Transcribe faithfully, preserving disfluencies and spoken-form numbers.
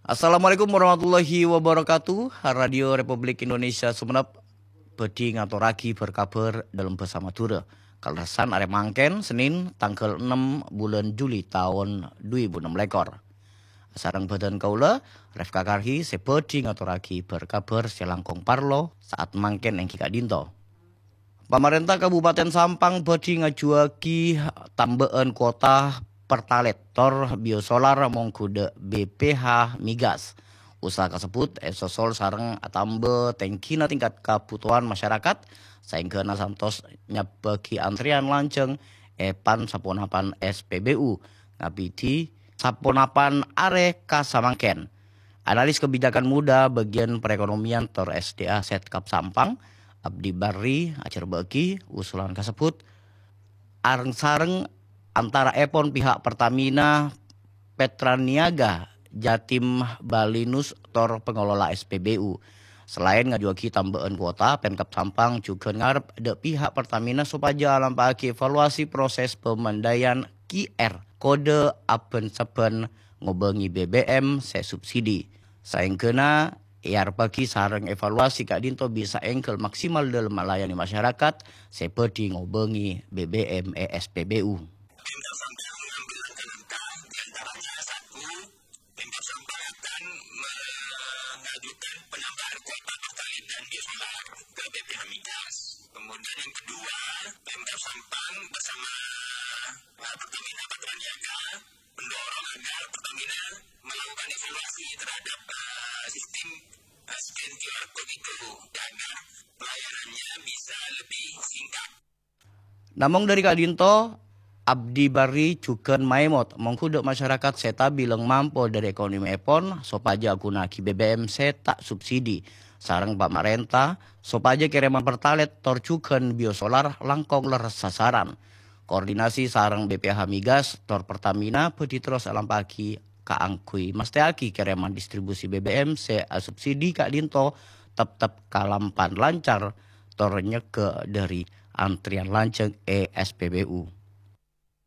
Assalamualaikum warahmatullahi wabarakatuh. Radio Republik Indonesia Sumenep bhâdhi ngatorraghi bâr-kabhâr dâlem bhâsa Madhurâ. Kalerressan arè mangkèn, Senin, tangghâl ennem bulân Juli taon dhu èbu ennem lèkor. Sareng bhâdhân kaulâ, Refka Karhi, sè bhâdhi ngatorraghi bâr-kabhâr sè langkong parlo saat mangkèn èngghi ka'dinto. Pamarènta Kabupaten Sampang bhâdhi ngajuwâghi tambâ'ân kuota Pertalite tor biosolar mongghu dâ' B P H Migas. Usaha kasebbhut èsosol sareng atamba tèngghina tingkat kabhutowan masyarakat, saèngghâna santos nyabbhâghi antrèyan lanjhâng è pan-saponapan S P B U, ngabidhi saponapan arè ka samangkèn. Analis kebijakan muda bagian perekonomian tor S D A Setkab Sampang, Abdi Barri, ajhârbâ'âghi usulan kasebbhut areng-sareng antara'èpon pihak Pertamina, Petraniaga, Jatim Balinus, tor pengelola S P B U. Selaèn ngajuwâghi tambâ'ân kuota, Pemkab Sampang jhughân ngarep dâ' pihak Pertamina sopajâ alampa'aghi evaluasi proses pemindaian Q R kode aban-sabbân ngobângè B B M sè subsidi. Saèngghâna èarebbhâghi sareng evaluasi ka'dinto bisa èngghâl maksimal dâlem malayanè masyarakat sè bhâdhi ngobângè B B M è S P B U. Pemda Sampang mengambil langkah-langkah, di antaranya satu, Pemda Sampang akan mengajukan penambahan kuota Pertalite dan biosolar ke B P H Migas. Kemudian yang kedua, Pemda Sampang bersama eh, Pertamina Petraniaga mendorong agar Pertamina melakukan evaluasi terhadap eh, sistem eh, scan Q R code itu, agar pelayanannya bisa lebih singkat. Namong dâri ka'dinto, Abdi Barri jhughân maèmot mongghu dâ' masyarakat sè tabilâng mampo dâri ekonomièpon sopajâ aghunaaghi B B M sè ta' subsidi, sareng pamarènta sopajâ kèrèman Pertalite tor jhughân biosolar langkong lerres sasaran. Koordinasi sareng B P H Migas tor Pertamina bhâdhi terros alampa'aghi kaangghuy mastèyaghi kèrèman distribusi B B M sè asubsidi ka'dinto teptep kalampan lancar tor nyegghâ' dâri antrèyan lanjhâng è S P B U.